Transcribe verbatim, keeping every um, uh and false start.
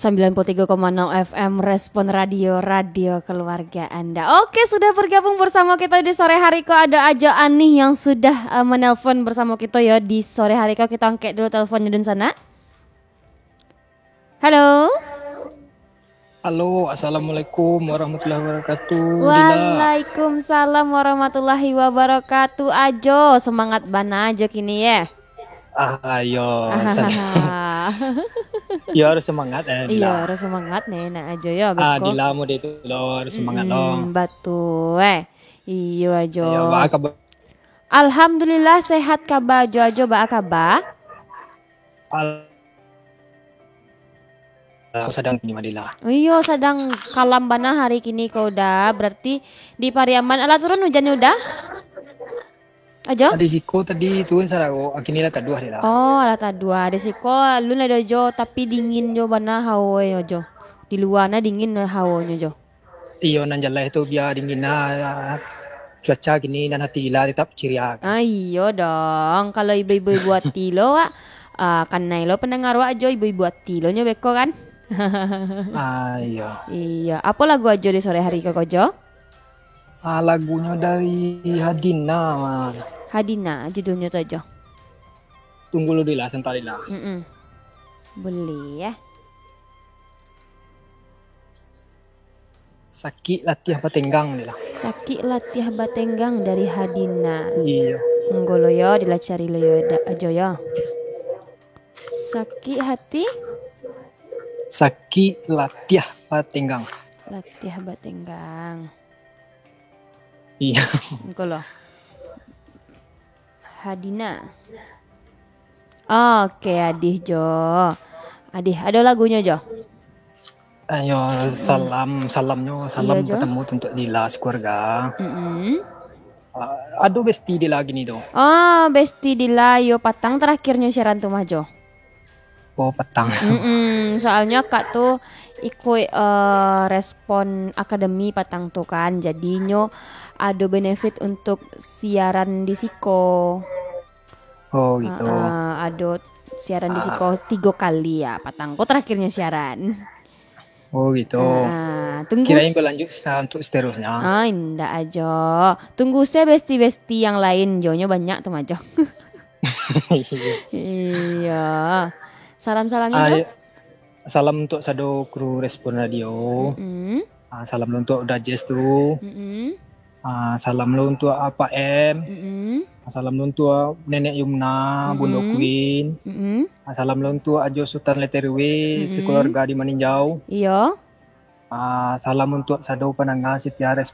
sembilan puluh tiga koma enam F M Respon Radio, radio keluarga Anda. Oke, sudah bergabung bersama kita di sore hari ko. Ada Ajo Anih yang sudah, eh, menelpon bersama kita ya di sore hari ko. Kita angkat dulu teleponnya dun sana. Halo. Halo, assalamualaikum warahmatullahi wabarakatuh. Dila. Waalaikumsalam warahmatullahi wabarakatuh. Ajo, semangat bana Ajo kini ya. Ah, iyo, Ahaha. Yo harus semangat, eh, Iyo, Dila. Harus semangat nih, nak Ajo yo, Ah, beko. Dila mode tu lo, harus semangat lo. Mm-mm, batul, eh. Iyo, Ajo. Iyo, ba kabar? Alhamdulillah, sehat kaba Ajo, Ajo, ba kaba? Al-, Aku sadang kini, Madila. Iyo, sadang kalam bana hari kini ko udah. Berarti di Pariaman, alah turun hujan udah? Ajo? Di siko tadi turun sararo, kini lah taduah, Dila. Oh, lah taduah. Di siko alun lah doh, Ajo, tapi dingin jo bana hawo yo, Ajo. Di lua nah dingin hawonyo, Jo. Iyo, nan jaleh tu bia dingin nah cuaca kini, dan hati Dila tetap ceria. Ah, iyo dong. Kalau ibo-ibo ibu ati lo, wak, ah, kanai lo pandanga wak, Ajo, ibo-ibo ati lo nyo beko kan? Ah, iyo. Iyo. Apo lagu Ajo di sore hari ko, Jo? Ah, lagunyo dari Hadina, Wan. Hadina, judulnyo tu, Ajo. Tunggu lu, Dila, santa, Dila. Mm-mm. Boleh, ya. Sakik latiah batenggang, Dila. Sakik latiah batenggang dari Hadina. Iyo. Tunggu lo yo, Dila cari lo yo, da-, Ajo yo. Sakik hati? Sakik latiah batenggang. Latiah batenggang. Iyo. Engko lo. Hadina. Oke, Adih, Jo. Adih, ado lagunyo, Jo? Ayo, salam, salamnyo, salam Iyo, Jo. Batemu untuak Dila sakeluarga. Mm-mm. Ah, ado besti Dila kini tu. Oh, besti Dila, iyo, patang terakhirnyo siaran tu mah, Jo. Oh, patang. Mm-mm, soalnyo akak tu ikuik, eh, Respon Academy patang tu kan, jadinyo ado benefit untuk siaran di siko. Oh, gitu. Ah, ah, ado siaran di Ah. siko tigo kali ya, patang ko terakhirnyo siaran. Oh, gitu. Ah, tunggu Kirain s- berlanjut sa-, untuk seterusnya. Ah, indak, Ajo. Tunggu se besti-besti yang lain, Jo. Nyo banyak tu mah, Jo. Iyo. Salam-salamnyo, Ah, Jo? Iyo. Salam untuk sado kru Respon Radio. Mm-mm. Ah, salam untuk Uda Jazz tu. Mm-mm. Ah, salam lo untuk Apak M. Mm-mm. Ah, salam lo untuk Nenek Yumna, Bundo Mm-mm. Queen. Mm-mm. Ah, salam lo untuk Ajo Sultan Leterwe, Mm-mm. sekeluarga di Maninjau. Iyo. Ah, salam untuk sado pandanga setia Res-,